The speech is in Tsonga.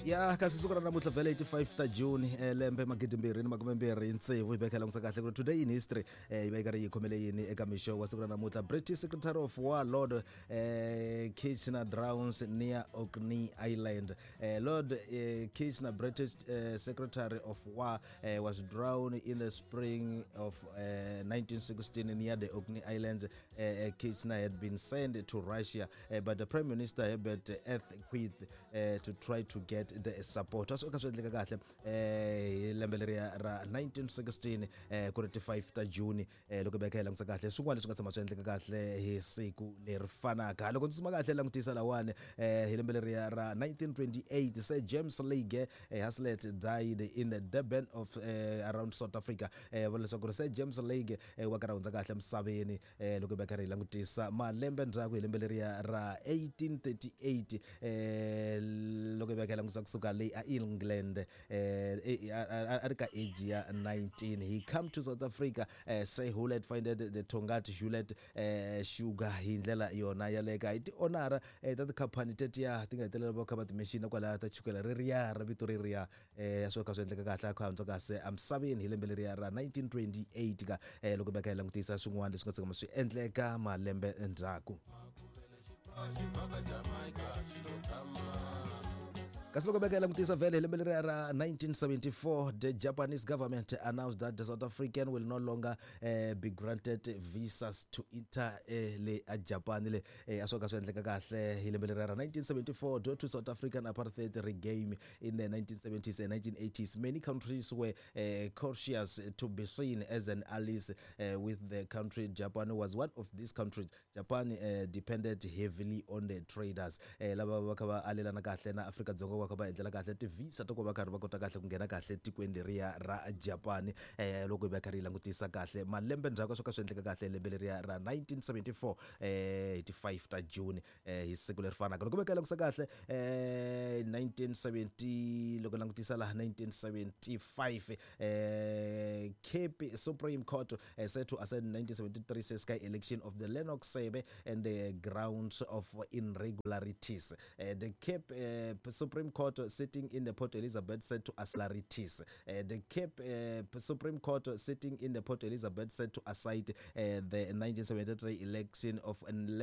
Ya, kasi siku ra namuntlha vhele hi ti 5 ta June, lembe 2026, hi vekela langutisa kahle ku ri today in history yi va yi karhi yi khomele yini eka mixo wa siku ra namuntlha. British Secretary of War Lord Kitchener drowns near Orkney Island. Lord Kitchener, British Secretary of War, was drowned in the spring of 1916 near the Orkney Islands. Kitchener had been sent to Russia by the Prime Minister Herbert Asquith to try to get the support. A swi ka swi endleka kahle hi lembe leriya ra 1916, ku ri ti 5 ta June. Loko hi veka hi langutisa kahle swin'wana leswi nga tshama swi endleka kahle hi siku leri fanaka, loko ndzi suma kahle langutisa lawani, hi lembe leriya ra 1928, Sir James Leigh Haslet died in the Durban of around South Africa. Vula leswaku ri Sir James Leigh wa karhi hundza kahle emisaveni. Loko hi va karhi hi langutisa malembe ndzhaku, hi lembe leriya ra 1838, loko hi va hi langutisa kusuka leyi a England, a ri ka age ya 19. He come to South Africa. Sir Hewlett finded the Tongaat Hulett Sugar hi ndlela yona yaleka hi ti-honora ta tikhampani tetiya ti nga hetelela va kha va timexina kwalaya ta chukela reriya ra vito reriya. Swo ka swi endleka kahle a kha hundza kahle emisaveni hi lembe leriya ra 1928 ka. Loko hi va kha hi langutisa swin'wana leswi nga tshama swi endleka malembe ndzhaku, kasi loko beka langutisa vhele hi lembe leriya ra 1974, the Japanese government announced that the South African will no longer be granted visas to enter le a Japan le. A swo ka swi endleka kahle hi lembe leriya ra 1974 due to South African apartheid regime in the 1970s and 1980s. Many countries were cautious to be seen as an allies with the country. Japan was one of these countries. Japan depended heavily on the traders. Lava va kha va alelana kahle na Afrika-Dzonga, va kha va endlela kahle ti-visa to ku va karhi va kota kahle ku nghena kahle tikweni leriya ra Japan. Loko hi va karhi hi langutisa kahle malembe ndzhaku, swo ka swi endleka kahle lembe leriya ra 1974, hi ti 5 ta June, hi siku leri fanaka. Loko va ka langutisa kahle, 1970, loko langutisa laha 1975, Cape Supreme Court set to assign 1973 Ciskei election of the Lennox Sebe and the grounds of irregularities. The Cape Supreme Court sitting in the Port Elizabeth set to aslarities. The Cape Supreme Court sitting in the Port Elizabeth set to aside the 1973 election of Lennox